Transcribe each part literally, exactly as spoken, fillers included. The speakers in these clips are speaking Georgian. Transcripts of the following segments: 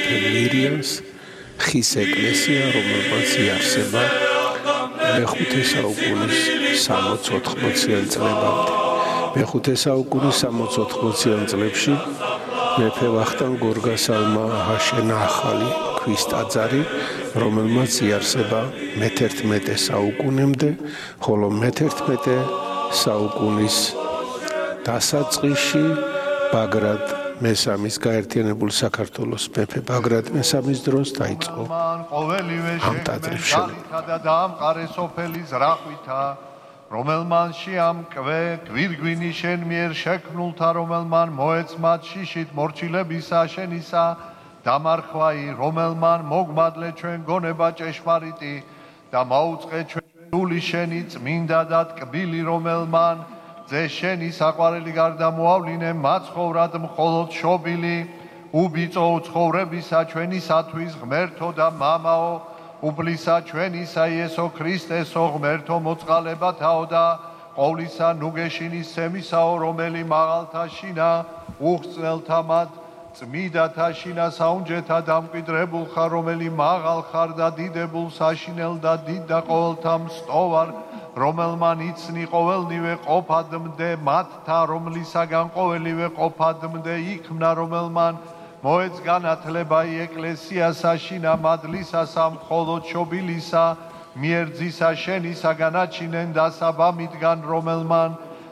მეფე მირიანს ხის ეკლესია, რომელმაც იარსება მეხუთე საუკუნის სამოც-ოთხმოციან წლებამდე. მეხუთე საუკუნის სამოც-ოთხმოციან წლებში მეფე ვახტანგ გორგასალმა აშენა ახალი ქვის ტაძარი, რომელმაც იარსება მეთერთმეტე საუკუნემდე, ხოლო მეთერთმეტე საუკუნის დასაწყისში ბაგრატ მესამის გაერთიანებული საქართველოს მეფე ბაგრატ მესამის დროს დაიწყო ამ ტაძრის შენობა და დაამყარე სოფელი ზრახვითა, რომელმან შეამკვე გვირგვინი შენ მიერ შექმნულთა, რომელმან მოეცმად შიშით მორჩილებისა შენისა დამარხვაი, რომელმან მოგმადლე ჩვენ გონება ჭეშმარიტი და მაუწყე ჩვენ სული შენი წმინდა და ტკბილი, რომელმან ძე შენი საყვარელი გარდა მოავლინე მაცხოვრად მხოლოდ შობილი, უბიწო უცხოვრებისა ჩვენისათვის ღმერთო და მამაო, უბლისა ჩვენისა იესო ქრისტესო ღმერთო მოწყალებათაო და ყოვლისა ნუგეშინის სემისაო, რომელი მაღალთა შინა უხსნელთა მათ წმიდათა შინა საუნჯეთა დამკვიდრებულ ხარ, რომელი მაღალ ხარ და დიდებულ საშინელ და დიდ და ყოველთა მსტოვარ, რომელმან იცნი ყოველნივე ყოფადმდე მათთა, რომლისაგან ყოველივე ყოფადმდე იქმნა, რომელმან მოეც განათლება ეკლესიასა შინა მადლისასა მხოლოდ შობილისა მიერძისა შენისა განაჩინენ და საბამიდან, რომელმან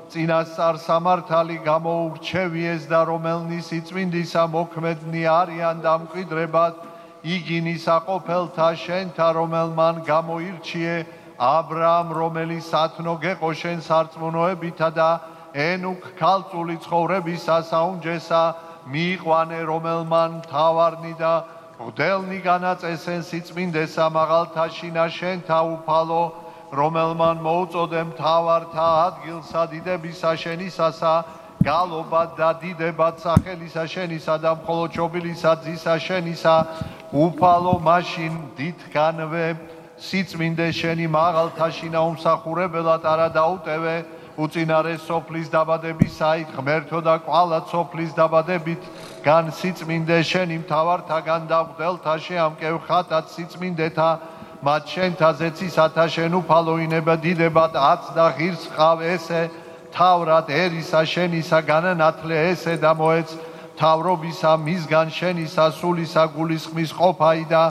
წინასწარ სამართალი გამოურჩევიეს და რომელნის იწმინდისა მოქმედნი არიან დამკვიდრებად იგინისა ყოფელთა შენთა, რომელმან გამოირჩიე აბრაამ, რომელიც სათნო გეყო შენ სარწმუნოებითა და ენუქ ქალწული ცხოვრებისა საუნჯესა მიიყვანე, რომელმან მთავარნი და მღვდელნი განაწესენ სიწმინდესა მაღალთა შინა შენთა უფალო, რომელმან მოუწოდე მთავართა ადგილსა დიდებისა შენისასა, გალობად და დიდებად სახელისა შენისა და მხოლოდ შობილისა ძისა შენისა უფალო, მაშინ დიდგანვე სიწმინდე შენი მაღალთა შინა უმსახურებელად არა დაუტევე, უწინარე სოფლის დაბადებისაით ღმერთო და კვალად სოფლის დაბადებით გან სიწმინდე შენი მთავართაგან და მღვდელთა შეამკევ ხატად სიწმინდეთა, მათ შენთა ზეცისათა შენ უფალოინება დიდებად აც და ღირს ხავ ესე თავრად ერისა შენისა განანათლე ესე და მოეც თავრობისა მისგან შენისა სულისა გულისხმის ყოფაი და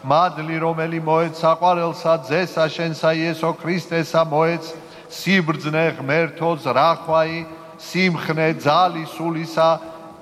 მადლი, რომელი მოეც საყვარელსა ძესა შენსა იესო ქრისტესა, მოეც სიბრძნე ღმერთო ზრახვაი, სიმხნე ძალი სულისა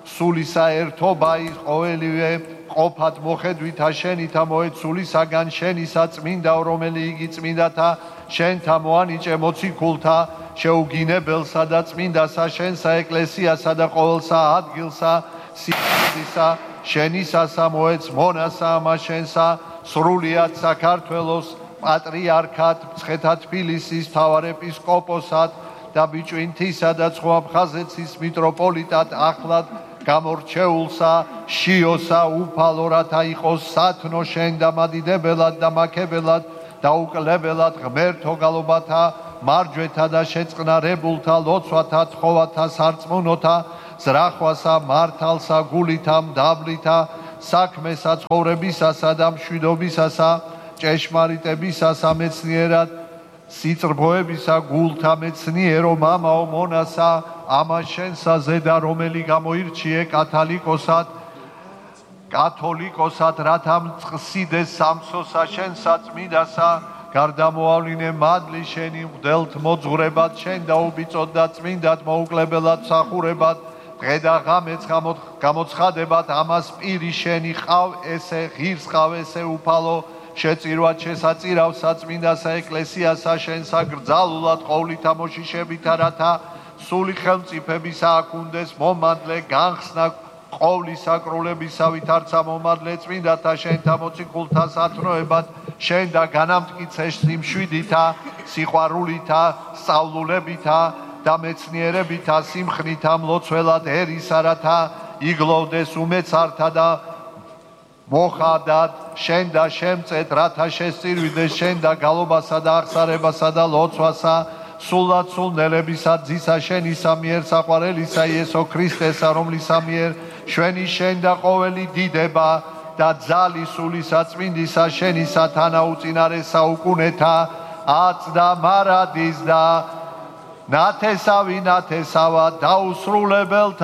სულისა ერთობაი, ყოველივე ყოფად მოხედვითა შენითა, მოეც სულისაგან შენისა წმინდაო, რომელი იგი წმინდათა შენთა მოანიჭე მოციქულთა შეუგინებელსა და წმინდასა შენსა ეკლესიასა და ყოველსა ადგილსა სიყვარულისა შენისასა, მოეც მონასა ამა შენსა სრულიად საქართველოს პატრიარქად, მცხეთა თბილისის მთავარეპისკოპოსად და ბიჭვინთისა და ცხოაფხაზეთის მიტროპოლიტად ახლად გამორჩეულსა შიოსა უფალო, რათა იყოს სათნო შენ და მადიდებელად და მაქებელად და უკლებელად ღმერთო გალობათა მარჯვეთა და შეწყნარებულთა ლოცვათა თხოვათა სარწმუნოთა ზრახვასა მართალსა გულითა მდაბლითა საქმესა ცხოვრებისასა და მშვიდობისასა ჭეშმარიტებისასა მეცნიერად სიწყრბოებისა გულთა მეცნიერო მამაო მონასა ამა შენსა ზედა, რომელი გამოირჩიე კათალიკოსად კათოლიკოსად, რათა მწყსიდეს სამსოსა შენსა წმინდასა, გარდამოავლინე მადლი შენი მღვდელთ მოძღვრებად შენ და უბიწოდ და წმინდად მოუკლებელად მსახურებად დღე და ღამეც გამოცხადებად ამას პირი შენი ყავ ესე ღირს ყავ ესე უფალო, შეწირვად შესაწირავ საწმინდასა ეკლესიასა შენსა გრძალულად ყოვლითა მოშიშებითა, რათა სული ხელმწიფებისა აქუნდეს მომადლე განხსნა ყოვლის საკრულებისა, ვითარცა მომადლე წმინდათა შენთა მოციქულთა სათნოებად შენ და განამტკიცე სიმშვიდითა, სიყვარულითა, სწავლულებითა და მეცნიერებითა, სიმხნითა მლოცველად ერისა, რათა იგლოვდეს უმეცართა და მოხადად შენ და შემწეთ, რათა შესწირვიდეს შენ და გალობასა და აღსარებასა და ლოცვასა სულად სულნელებისა ძისა შენისა მიერ საყვარელისა იესო ქრისტესა, რომლისა მიერ შვენი შენ და ყოველი დიდება და ძალი სულისა წმინდისა შენისა თანაუწინარე საუკუნეთა აწდა მარადის და ნათესავი ნათესავა დაუსრულებელთა